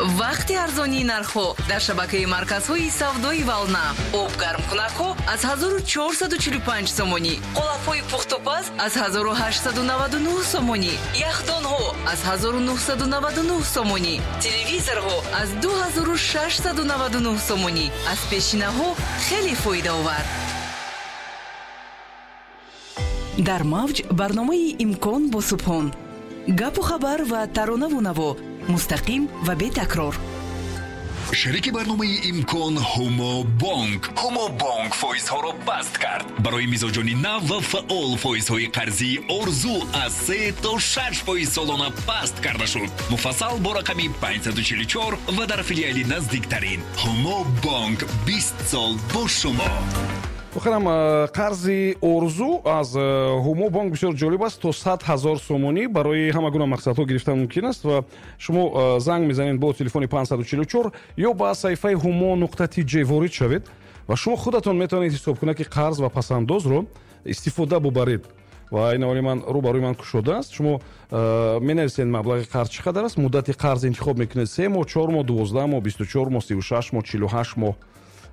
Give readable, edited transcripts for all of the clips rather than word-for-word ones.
Вақти арзонии нархҳо дар шабакаи марказҳои савдои «Волна». Обгармкунакҳо аз 1445 сомонӣ, қолабҳои пухтупаз аз 1899 сомонӣ, яхдонҳо аз 1999 сомонӣ, телевизорҳо аз 2699 сомонӣ. Аз пешинаҳо хеле фоидаовар. Дар мавҷ барномаи «Имкон» бо Субҳон. Гапу хабар ва таронаву наво мустақим ва бетакрор. Шарики барномаи «Имкон» Ҳумо Бонк. Ҳумо Бонк фоизҳоро баст кард. Барои мизоҷони нав ва фаъол фоизҳои қарзии «Орзу» аз 3 то 6% солона паст карда шуд. Муфассал бо рақами 544 ва дар филиали наздиктарин. Ҳумо Бонк, 20 сол бо шумо. Охирам, қарзи «Орзу» аз Ҳумо Бонк бисёр ҷолиб аст. То 100 000 сомонӣ барои ҳама гуна мақсадҳо гирифтан мумкин аст ва шумо занг мезанед бо телефони 544 ё ба саҳифаи humo.tj ворид шавед ва шумо худатон метавонед ҳисобкунаки қарз ва пасандозро истифода бубаред. Ва ин аввали ман рӯ ба рӯи ман кушодааст. Шумо менависед, маблағи қарз чӣ қадар аст, муддати қарз интихоб мекунед: 3 моҳ, 4 моҳ, 12 моҳ, 24 моҳ, 36 моҳ, 48 моҳ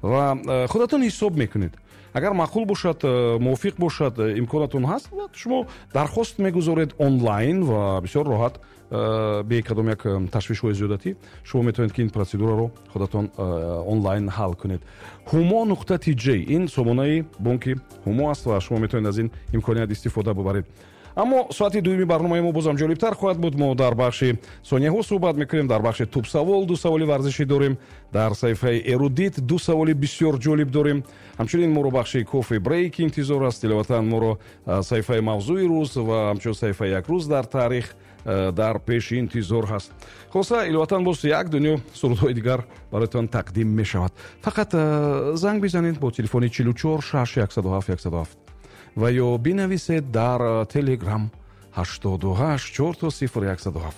ва худатон ҳисоб мекунед. Агар маъқул бошад, мувофиқ бошад, имконатон ҳаст, шумо дархост мегузоред онлайн ва бисёр роҳат, бе кадом як ташвишҳои зиёдатӣ шумо метавонед, ки ин процедураро худатон онлайн ҳал кунед. humo.tj ин сомонаи бонки Ҳумо аст ва шумо метавонед аз ин имконият истифода бубаред. Аммо соати дуюми барномаи мо бозам ҷолибтар хоҳад буд. Мо дар бахши сонияҳо суҳбат мекунем, дар бахши тӯбсавол ду саволи варзишӣ дорем, дар саҳифаи эрудит ду саволи бисёр ҷолиб дорем. Ҳамчунин моро бахши кофе брейк интизор аст. Иловатан, моро саҳифаи мавзӯи рӯз ва ҳамчунин саҳифаи як рӯз дар таърих дар пеши интизор ҳаст. Хулоса, иловатан боз як дунё сурудҳои дигар бароятон тақдим мешавад. Фақат занг бизанед бо телефони 44 6 107 107 ва ё бинависед дар Телеграм 88 000 107.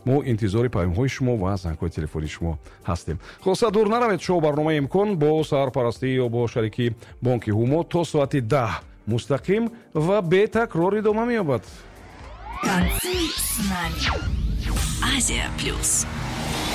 Мо интизори паёмҳои шумо ва зангҳои телефонии шумо ҳастем. Хулоса, дур наравед. Шоу барномаи «Имкон» бо сарпарастӣ ё бо шарикии бонки Ҳумо то соати 10 мустақим ва бетакрор идома меёбад. Танцуй с нами. Азия Плюс.